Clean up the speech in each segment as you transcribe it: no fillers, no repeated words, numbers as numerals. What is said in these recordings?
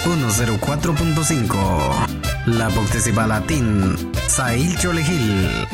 104.5 La Boctesibalatín Sahil Cholejil.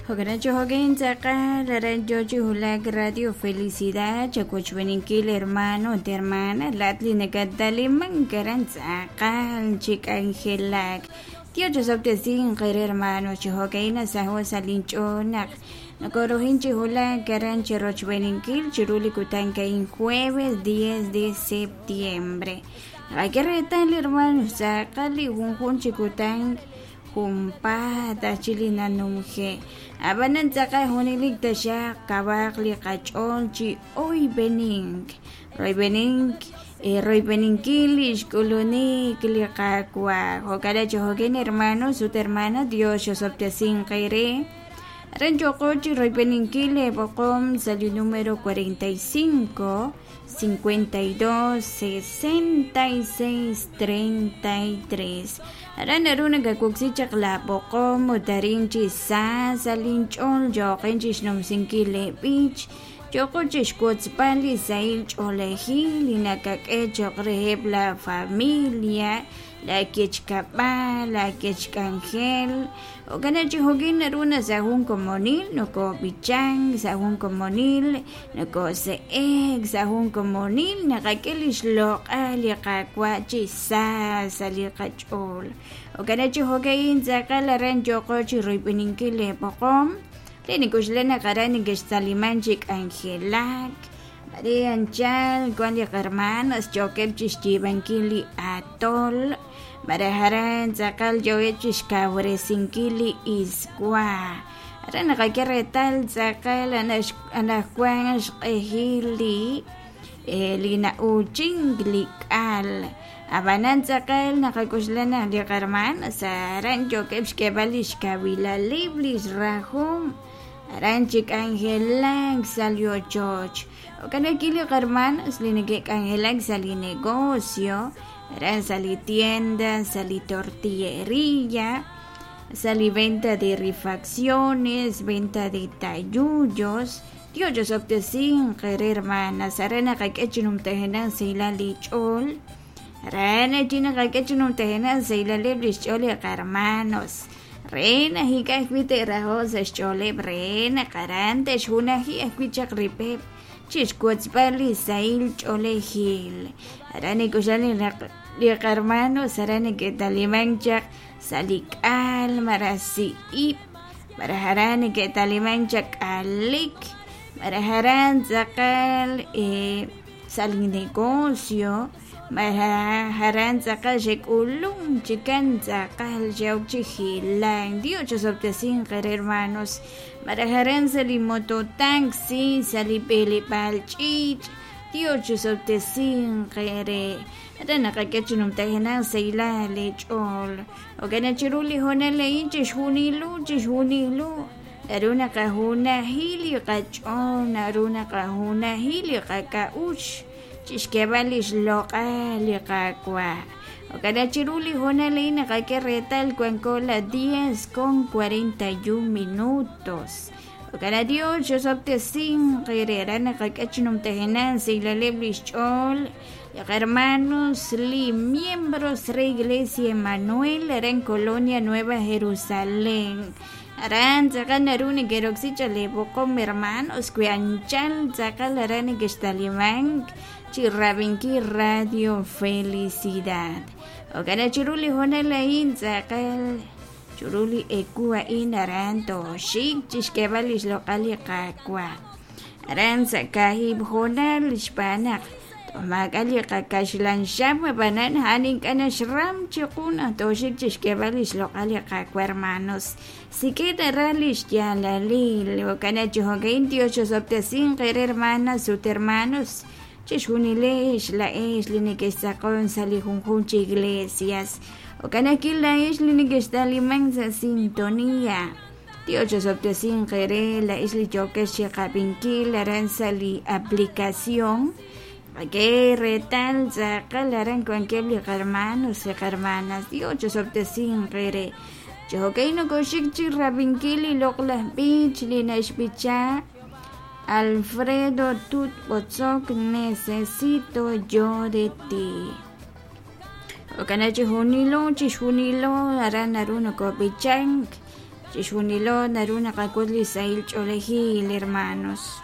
Jo'kan jo'kin tz'aqal aran yo chi wulak Radio Felicidad chawochb'eninkil hermano ut hermana laa'at li nakatalimank aran tz'aqal chi k'anjelak. Dios chosob'tesinq eere hermano chi jo'ka'in nasaho' sa' linch'ool naq nokorujin chi wulak aran chirochb'eninkil chiru li kutan ka'in jueves 10 de septiembre. Naqak'e reetal hermano tz'aqal li junjun chi kutan junpaat aj chi li nanumje'. Ab'anan tz'aqal junelik taxaq kawaq li qach'ool chi oyb'enink. Royb'enink royb'eninkil li xk'ulunik li Qaawa'. Jo'kan chi jo'kin hermanos ut hermanas Dios xosob'tesinq eere. Aran yooqo chi royb'eninkil eeb'oqom sa' li número 45 52 66 33. Aran naru nakawoksi chaq laab'oqom ut arin chi sa sa' linch'ool yooqin chi xnumsinkil leeb'ich yooqo chi xwotzb'al li sahil ch'oolejil li nakak'e cho'q reheb' la familia, la kechkab'al, la kechk'anjel. Jo'kan chi jo'kin naru na sa' jun komonil nokob'ichank, sa' jun komonil nokose'ek, sa' jun komonil naqak'e li xloq'al li Qaawa' chi sa sa' li qach'ool. Jo'kan chi jo'ka'in tz'aqal aran yooqo chi royb'eninkil leeb'oqom li nik'uxla naq aran neke'xtzaliman chi k'anjelak. Mare anchal wan li qarmanos yookeb' chi xyiib'ankil li atol, mare aran tz'aqal yookeb' chi xkawresinkil li iswa. Aran naqak'e reetal tz'aqal anaqwan xq'ehil li li na'uuchink li k'al. Ab'anan tz'aqal naqak'oxla naq li qarmanos aran yookeb' xk'eeb'al li xkawilaleb' li xrajom aran chi k'anjelak sa' li ochoch. Jo'kan ajwi' li qarmanos li neke'k'anjelak sa' li negocio, aran sa' li tienda, sa' li tortilleria, sa' li venta de refacciones, venta de tayuyos. Dios chosob'tesinq eere hermanas, aran naqak'e chi numtajenaq sahilal li ch'ool. Aran chi naqak'e chi numtajenaq sahilaleb' li xch'ool li qarmanos. Re naq ink'a' ajwi' te'raho'q sa' xch'ooleb' re naq aran te'xjunaji ajwi' chaq rib'eb' chi xwotzb'al li sahil ch'oolejil. Aran nik'oxla li qarmanos aran neke'talimank chaq sa' li k'al malaj si'ib', malaj aran neke'talimank chaq k'alik, malaj aran tz'aqal sa' li negocio, malaj aran tz'aqal xe'k'ulunk chikan tz'aqal xe'ok chi hilank. Dios chosob'tesinq eere hermanos, malaj aran sa' li mototaxi, sa' li b'eleb'aal ch'iich'. Dios chosob'tesinq eere. Aran naqak'e chi numtajenaq sahilal leech'ool. Jo'kan naq chiru li hoonal a'in chixjunilu chixjunilu naru naqajunaji li qach'ool, naru naqajunaji li qak'a'uxl chixk'eeb'al li xloq'al li Qaawa'. Jo'kan naq chiru li hoonal a'in naqak'e reetal wanko la 10 con 41 minutos. Jo'kan naq Dios xosob'tesinq eere aran naqak'e chi numtajenaq sahilaleb' li xch'ool li hermanos li miembros re Iglesia Emanuel aran Colonia Nueva Jerusalén. Aran tz'aqal naru neke'roksi chaq leeb'oqom hermanos wi anchal tz'aqal aran neke'xtalimank chi rab'inkil Radio Felicidad. Jo'kan naq chiru li hoonal a'in tz'aqal chiru li ewu a'in aran tooxik chi xk'eeb'al li xloq'al li Qaawa'. Aran sa' kaahib' hoonal xb'aan naq toj maak'a' li qakaxlan xam ab'anan a'an ink'a' naxram chiqu naq tooxik chi xk'eeb'al li xloq'al li Qaawa' hermanos. Sik'et aran li xyaalalil. Jo'kan naq chi jo'ka'in Dios chosob'tesinq eere hermanas ut hermanos chixjunilex laa'ex li nekextz'aqon sa' li junjunq chi iglesias. Jo'kan ajwi' laa'ex li nekextalimank sa' sintonía. Dios chosob'tesinq eere laa'ex li yookex chi qab'inkil aran sa' li aplicación. Qak'e reetal tz'aqal aran wankeb' li qarmanos li qarmanas. Dios chosob'tesinq eere. Chi jo'ka'in nokoxik chi rab'inkil li loq'laj b'ich li naxb'icha. Alfredo Tut Botzok, Necesito yo de ti. Jo'kan chixjunilo, chixjunilo aran naru nokob'ichank, chixjunilo naru naqak'ut li sahil ch'oolejil, hermanos.